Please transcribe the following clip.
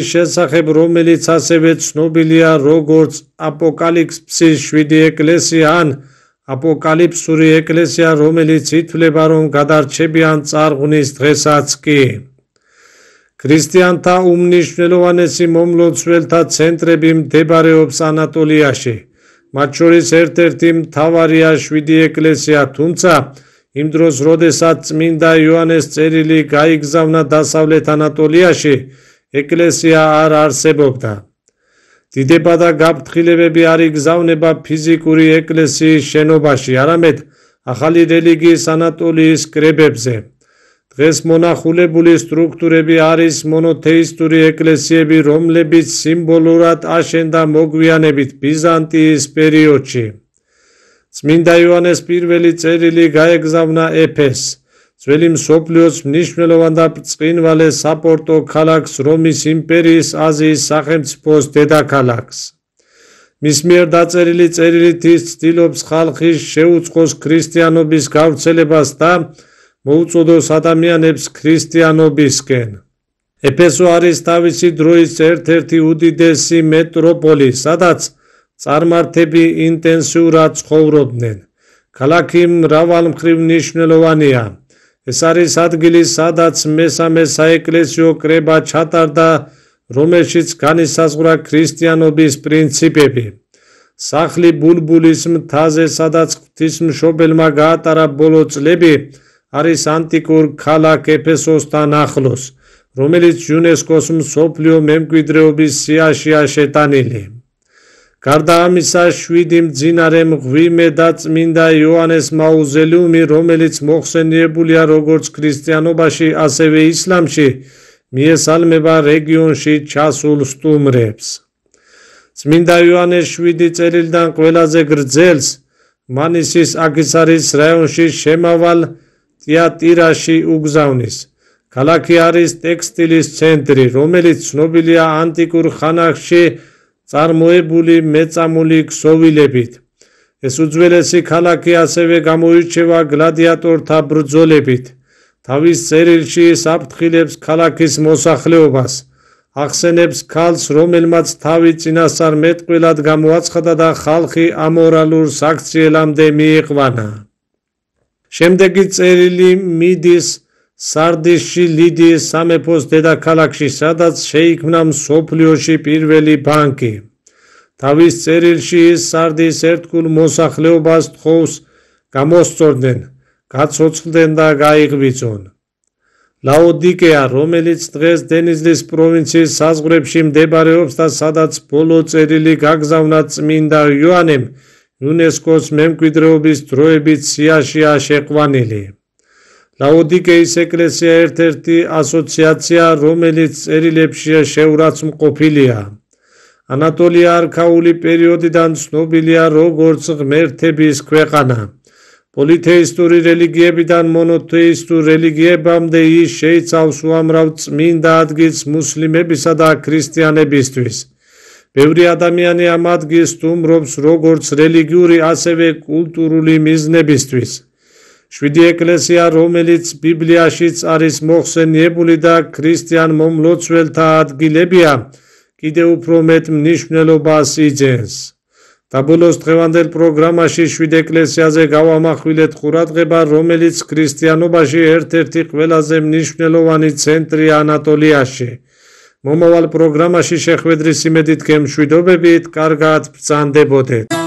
შესახებ, რომელიც ასევე ცნობილია როგორც აპოკალიფსის 7 ეკლესია ან აპოკალიფსური ეკლესია, რომელიც ითვლება, რომ გადარჩებიან წარღვნის დღესაც კი. ქრისტიანთა უმნიშვნელოვანესი მომლოცველთა ცენტრები მდებარეობს ანატოლიაში. მათ შორის ერთ-ერთი მთავარია 7 ეკლესია, თუმცა იმ დროს, როდესაც წმინდა იოანეს წერილი გაიგზავნა დასავლეთ ანატოლიაში, ეკლესია არ არსებობდა. დიდება და გაფრთხილებები არ იგზავნება ფიზიკური ეკლესიის შენობაში, არამედ ახალი რელიგიის ანატოლიის კრებებზე. დღეს მონახულებული სტრუქტურები არის მონოთეისტური ეკლესიები, რომლებიც სიმბოლურად აშენდა მოგვიანებით ბიზანტიის პერიოდში. წმინდა იოანეს პირველი წერილი გაეგზავნა ეფესს, ძველი მსოფლიოს მნიშვნელოვან და ბრწყინვალე საპორტო ქალაქს, რომის იმპერიის აზიის სახელმწიფოს დედაქალაქს. მის მიერ დაწერილი წერილით ის ცდილობს ხალხის შეუწყოს ქრისტიანობის გავრცელებას და მოუწოდოს ადამიანებს ქრისტიანობისკენ. ეფესო არის თავისი დროის ერთ-ერთი უდიდესი მეტროპოლი, სადაც წარმართები ინტენსიურად ცხოვრობდნენ. ქალაქი მრავალმხრივ მნიშვნელოვანია. ეს არის ადგილი, სადაც მესამე საეკლესიო კრება ჩატარდა, რომელშიც განისაზღვრა ქრისტიანობის პრინციპები. სახლი ბულბულის მთაზე, სადაც ღვთისმშობელმა გაატარა ბოლო წლები, არის ანტიკურ ქალაქ ეფესოსთან ახლოს, რომელიც იუნესკოს მსოფლიო მემკვიდრეობის სიაშია შეტანილი. გარდა ამისა, 7 მძინარე მღვიმე და წმინდა იოანეს მაუზოლეუმი, რომელიც მოხსენიებულია როგორც ქრისტიანობაში, ასევე ისლამში, მიესალმება რეგიონში ჩასულ სტუმრებს. წმინდა იოანეს 7 წერილიდან ყველაზე გრძელს მანისის აქისარის რაიონში შემავალ ტიატირაში უგზავნის. ქალაქი არის ტექსტილის ცენტრი, რომელიც ცნობილია ანტიკურ ხანაში წარმოებული მეწამული ქსოვილებით. ეს უძველესი ქალაქი ასევე გამოირჩევა გლადიატორთა ბრძოლებით. თავის წერილში ის აფრთხილებს ქალაქის მოსახლეობას, ახსენებს ქალს, რომელმაც თავი წინასწარმეტყველად გამოაცხადა და ხალხი ამორალურ საქციელამდე მიიყვანა. შემდეგი წერილი მიდის სარდისში, ლიდიის სამეფოს დედაქალაქში, სადაც შეიქმნა მსოფლიოში პირველი ბანკი. თავის წერილში ის სარდის ერთგულ მოსახლეობას თხოვს გამოსწორდნენ, გაცოცხლდნენ და გაიღვიძონ. ლაოდიკეა, რომელიც დღეს დენიზლის პროვინციის საზღვრებში მდებარეობს და სადაც ბოლო წერილი გაგზავნა წმინდა იოანემ, იუნესკოს მემკვიდრეობის დროებით სიაშია შეყვანილი. ლაოდიკეის ეკლესია ერთ-ერთი ასოციაცია, რომელიც წერილებში შეურაცხმყოფილია. ანატოლია არქაული პერიოდიდან ცნობილია როგორც ღმერთების ქვეყანა. პოლითეისტური რელიგიებიდან მონოთეისტურ რელიგიებამდე ის შეიცავს უამრავ წმინდა ადგილს მუსლიმებისა და ქრისტიანებისთვის. ბევრი ადამიანი ამ ადგილს სტუმრობს როგორც რელიგიური, ასევე კულტურული მიზნებისთვის. 7 ეკლესია, რომელიც ბიბლიაშიც არის მოხსენიებული და ქრისტიან მომლოცველთა ადგილებია, კიდევ უფრო მეტ მნიშვნელობას იძენს. დაბოლოს დღევანდელ პროგრამაში 7 ეკლესიაზე გავამახვილეთ ყურადღება, რომელიც ქრისტიანობაში ერთ-ერთი ყველაზე მნიშვნელოვანი ცენტრია ანატოლიაში. მომავალ პროგრამაში შეხვედრის იმედით გემშვიდობებით, კარგად ბრძანდებოდეთ.